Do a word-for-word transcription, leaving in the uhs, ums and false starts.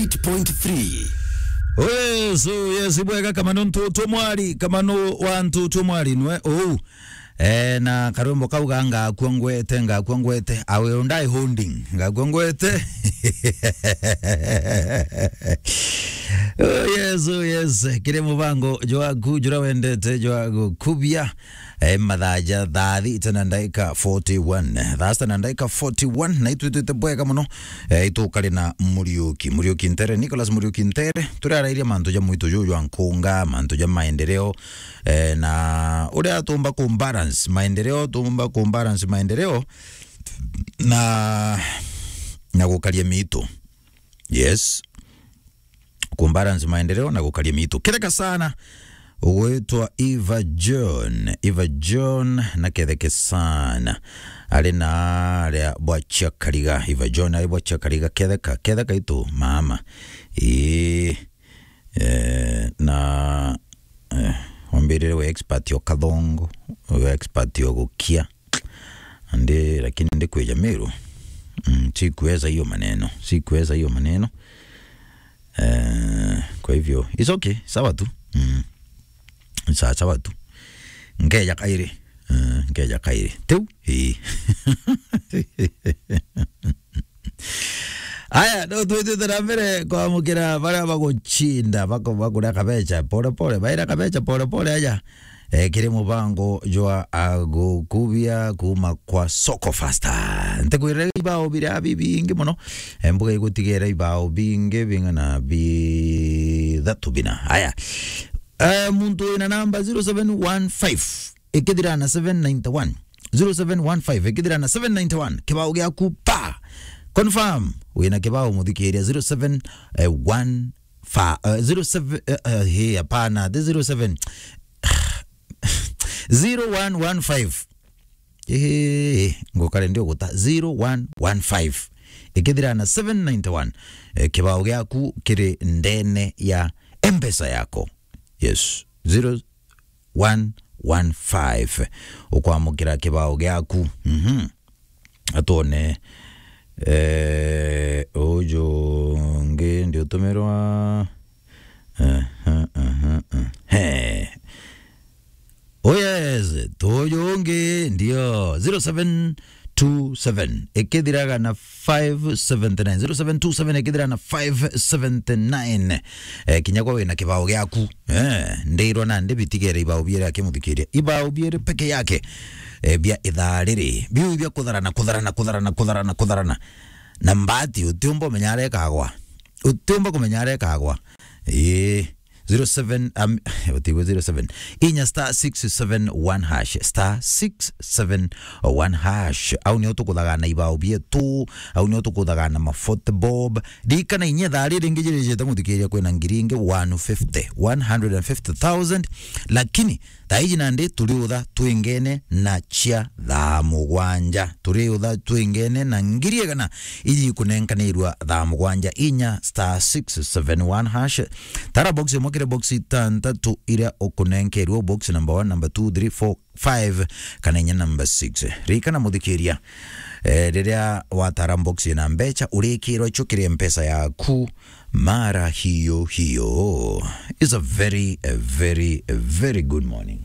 eight point three. Oh yes, oh yes, ibwega kama no ntu tumwari, kama no wa ntu tumwari nwe ou. Eh, na karwimbo kau ga ngakua ngwete, ngakua ngwete, I will die holding, ngakua ngwete. Oh yes, oh yes, kiri mubango jwaku jura wendete jwa gukubia. Eh, mathaa ja thaa thita na ndaika forty-one. Thaa sita na ndaika forty-one, na itwitwite bwega muno. Eh, itukari na Muriuki, Muriuki Ntere, Nicholas Muriuki Ntere. Turarairia mantu ja mwitu juju jwa nkunga, mantu ja maendeleo. Eh, na uria tumba ku balance maendeleo, tumba ku balance maendeleo na, na gukaria mitu. Yes. Ku balance maendeleo na gukaria mitu. Ketheka sana ugwitwa Eva John. Eva John na ketheke sana. Ari na aria bwa Chiakariga. Eva John ari bwa Chiakariga. Ketheka, ketheka itu mama. Ii. Eh, na, eh, wambirire we expert o kathongo, we expert o gukia. Andi, lakini ndikwija Meru. Mm, sikuweza hiyo maneno. Sikuweza hiyo maneno. Eh, kwa hivyo, it's okay. Sawa tu. Mm. Sawa, sawa tu. Nkeja kairi. Eh, nkeja kairi. Tiu? Ii. Aya, no twitite na mbere kwamukira baria bagucinda, bako-, bakuria kabecha pole pole, baira kabecha pole pole aja. Eh, kiri mubango jwa agukubia kuma kwa Soko Fasta. Ntikwirire ibao biria bibingi muno. Eh, mbuga igutigera ibao bingi bing'ana bithatu bina. Aya. Eh, muntu wina namba zero seven one five ikithira na seven ninety-one. Zero seven one five ikithira na seven ninety-one. Kibao giaku pa. Confirm. Wina kibao muthikiria zero seven one five, eh, zero seven, eh, eh, he, hapana, the zero seven. Zero one one five. Eh, ngukare ndio guta zero one one five. Ikithira na seven ninety-one. Eh, kibao giaku kiri ndene ya M-Pesa yako. Yes. Zero one one five. Ukwamukira kibao giaku. Mhm. Atwone, eh, uju ungi ndiutumirwa. Eh, eh, eh, eh, eh. He. Oh yes, tuju ungi ndio zero seven two seven ikithiraga na five seventy nine, zero seven two seven ikithira na five seventy nine. Eh, kinya kwa wina kibao giaku. Eh, ndirwa na ndi bitigere ibao biere akimuthikiria. Ibao biere peke yake. Eh, bia ithaa riri. Biu bia kutharana, kutharana, kutharana, kutharana, kutharana. Na mbati utiumba umenya arekagwa. Utiumba kumenya arekagwa. Ii. Zero seven, um, utigwe zero seven. Inya star six seven one hash. Star six seven one hash. Au nio tukuthaga na ibao bietu. Au nio tukuthaga na mafote bob. Ririkana inya thaa riri ringi jirijite muthikiria kwina ngiri ingi one fifty, one hundred and fifty thousand. Lakini thaa iji nandi turiutha twingene na cia thaa mugwanja. Turiutha twingene na ngiri igana iji ikunenkanirwa thaa mugwanja inya star six seven one hash. Tara box imwe kiri box itantatu iria ukunenkerwa, box number one, number two, three, four, five, kana inya number six. Ririkana muthikiria, eh, riria watara box ina mbecha, urikirwa icio kiri mpesa yaku mara hiyo hiyo. It's a very, a very, a very good morning.